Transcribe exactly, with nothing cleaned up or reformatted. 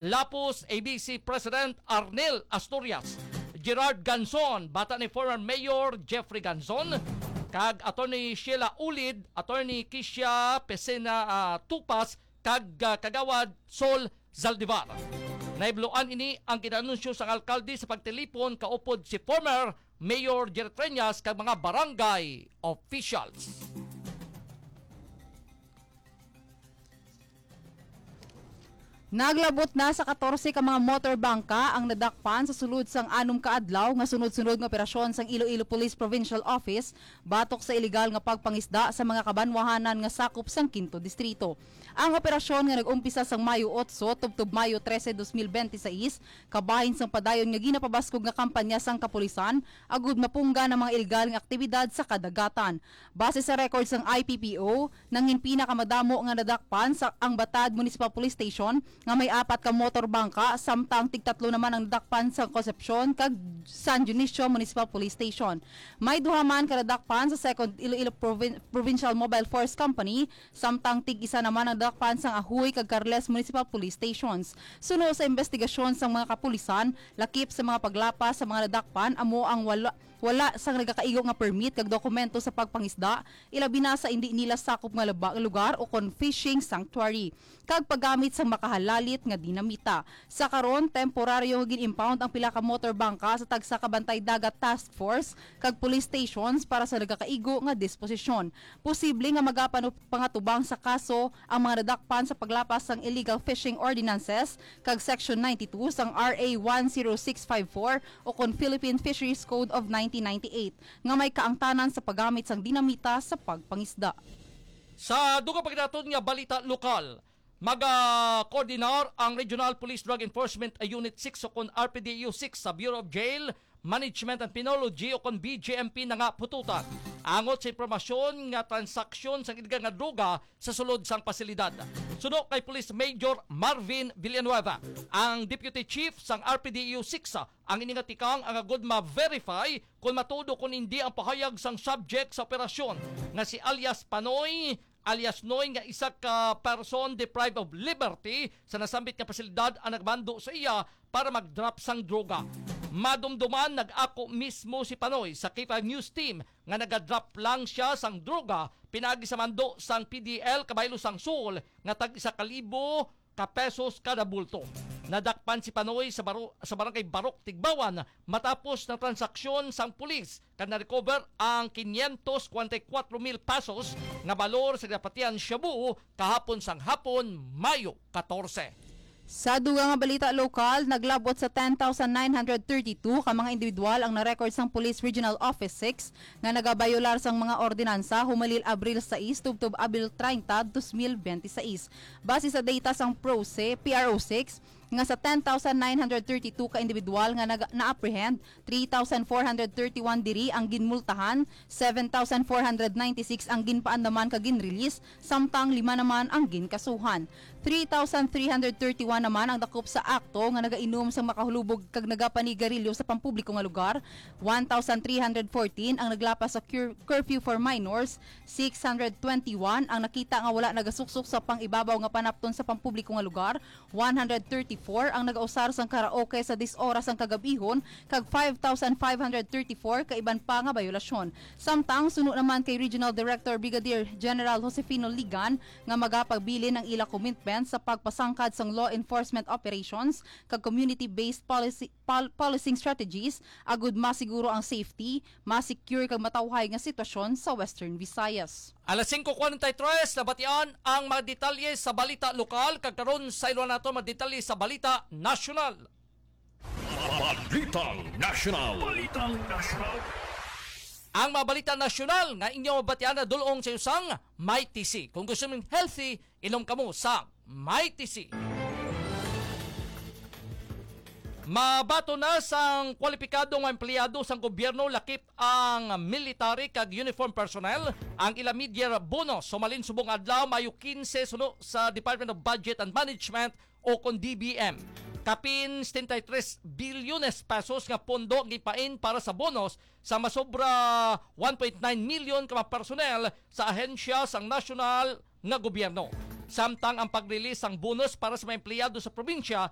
Lapus A B C President Arnel Asturias, Gerard Ganzon, bata ni former Mayor Jeffrey Ganzon, kag Attorney Sheila Ulid, Attorney Kisha Pesena, ah, Tupas, kag, ah, Kagawad Sol Zaldivar. Naibloan ini ang ginanunsyo sang alkalde sa pagtilipon kaupod si former Mayor Jerry Treñas kag mga barangay officials. Naglabot na sa katorse ka mga motor bangka ang nadakpan sa sulod sang anom ka adlaw nga sunod-sunod nga operasyon sang Iloilo Police Provincial Office batok sa iligal nga pagpangisda sa mga kabanwahanan nga sakop sang Quinto Distrito. Ang operasyon nga nag-umpisa sang Mayo otso tubtob Mayo trese, dos mil bente sais, kabahin sang padayon nga ginapabaskog nga kampanya sang kapulisan agud mapunggan ang mga iligal nga aktibidad sa kadagatan. Base sa record sang I P P O, nangin pinakamadamo nga nadakpan sa ang Batad Municipal Police Station nga may apat ka motor bangka, samtang tigtatlo naman ang nadakpan sa Concepcion kag San Dionisio Municipal Police Station. May duha man ka nadakpan sa Second Iloilo Provin- Provincial Mobile Force Company, samtang tig-isa naman ang nadakpan sang Ajuy kag Carles Municipal Police Stations. Suno sa investigasyon sang mga kapulisan, lakip sa mga paglapas sa mga nadakpan amo ang wala wala sang nagakaigo nga permit kag dokumento sa pagpangisda, ilabi na sa indi nila sakop nga laba-, lugar o kon fishing sanctuary, kag paggamit sang makahalalit nga dinamita. Sa karon, temporaryo nga gin-impound ang pila ka motor bangka sa tagsa ka Bantay Dagat Task Force kag police stations para sa nagakaigo nga disposisyon. Posible nga magapano-, pangatubang sa kaso ang mga nadakpan sa paglapas sang illegal fishing ordinances kag Section ninety-two sang R A one zero six five four o kon Philippine Fisheries Code of nineteen ninety-eight nga may kaangtanan sa paggamit sang dinamita sa pagpangisda. Sa dugang pa gid naton nga balita lokal, magakoordinar ang Regional Police Drug Enforcement Unit six o kon R P D U six sa Bureau of Jail Management and Penology o kon B J M P na nga pututan angot sa impormasyon nga transaksyon sang iligal nga droga sa sulod sang pasilidad. Suno kay Police Major Marvin Villanueva, ang Deputy Chief sang R P D U six, ang ini nga tikang ang agud ma-verify kon matuod kon indi ang pahayag sang subject sa operasyon nga si alias Panoy alias Noy nga isa ka person deprived of liberty sa nasambit nga pasilidad ang nagmando sa iya para mag-drop sang droga. Madumduman, nag-ako mismo si Panoy sa K five News Team nga naga-drop lang siya sang droga pinaagi sa mando sang P D L kabaylo sang Seoul nga tag isa ka libo ka pesos kada bulto. Nadakpan si Panoy sa, baro, sa barangay Barok, Tigbawan, matapos na transaksyon sang pulis kag na-recover ang quinientos cuarenta y cuatro mil pesos nga balor sa ginapatihan shabu kahapon sang hapon, Mayo katorse. Sa dugang nga balita lokal, naglabot sa ten thousand nine hundred thirty-two ka mga individual ang na-record sang Police Regional Office six nga nagabayolar sang mga ordinansa humalil Abril sais tubtob Abril treinta, dos mil bente sais. Base sa data sang PROSE, P R O six, nga sa ten thousand nine hundred thirty-two ka individual nga naga- na-apprehend, three thousand four hundred thirty-one diri ang ginmultahan, seven thousand four hundred ninety-six ang ginpaandaman kag ginrelease, samtang lima naman ang ginkasuhan. Three thousand three hundred thirty-one naman ang dakop sa akto nga nagainom sang makahulubog kag nagapanigarilyo sa pampubliko nga lugar, one thousand three hundred fourteen ang naglapas sa cur- curfew for minors, six hundred twenty-one ang nakita nga wala nagasuksok sa pang-ibabaw nga panapton sa pampubliko nga lugar, one hundred thirty-four ang nagausar sang karaoke sa dis oras sang kagab-ihon, kag five thousand five hundred thirty-four ka iban pa nga bayolasyon. Samtang suno naman kay Regional Director Brigadier General Josefino Ligan nga magapabilin ang ila commitment sa pagpasangkad sang law enforcement operations kag community-based policy, pol- policing strategies agud masiguro ang safety, masecure kag matawhay nga sitwasyon sa Western Visayas. Alas singko kwarenta y tres, nabatian ang mga detalye sa balita lokal, kag karon sayloan nato mga detalye sa balita nasyonal. Balitang Nasyonal. Balitang Nasyonal. Ang mga balita nasyonal nga inyo mabatian na dulong sa usang Mighty C. Kung gusto mong healthy, inom kamo sa Mighty C. Mabaton na sang kwalipikado nga empleyado sang gobyerno, lakip ang military kag uniform personnel, ang ila mid-year bonus sumalin subong adlaw, Mayo kinse, suno sa Department of Budget and Management o kon D B M. Kapin setenta y tres bilyones pesos nga pondo ang gipain para sa bonus sa masobra one point nine million ka mga personnel sa ahensya sang nasyonal nga gobyerno. Samtang ang pag-release sang bonus para sa mga empleyado sa probinsya